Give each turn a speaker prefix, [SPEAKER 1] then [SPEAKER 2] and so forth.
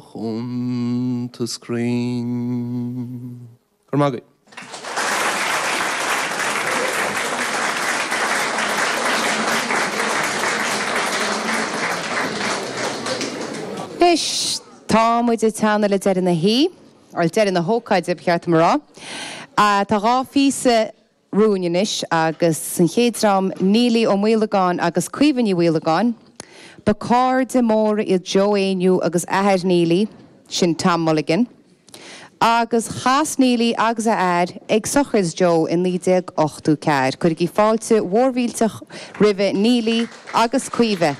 [SPEAKER 1] Chuntas cruinn. Go raibh maith agaibh.
[SPEAKER 2] Anois, tá muid ag teannadh le deireadh na hoíche, bhuel, deireadh na hócáide, ba cheart dom a rá. Tá 2 phíosa romhainn anois agus an chéad dream, Neilí Ó Maolagáin agus Caoimhe Ní Mhaolagáin. Ba cairde móra iad Joe Éinniú agus athair Neilí, sin Tom Mulligan, agus chas Neilí agus a athair ag sochraid Joe i 1984. Cuirigí fáilte mhór mhillteach roimhe Neilí agus Caoimhe.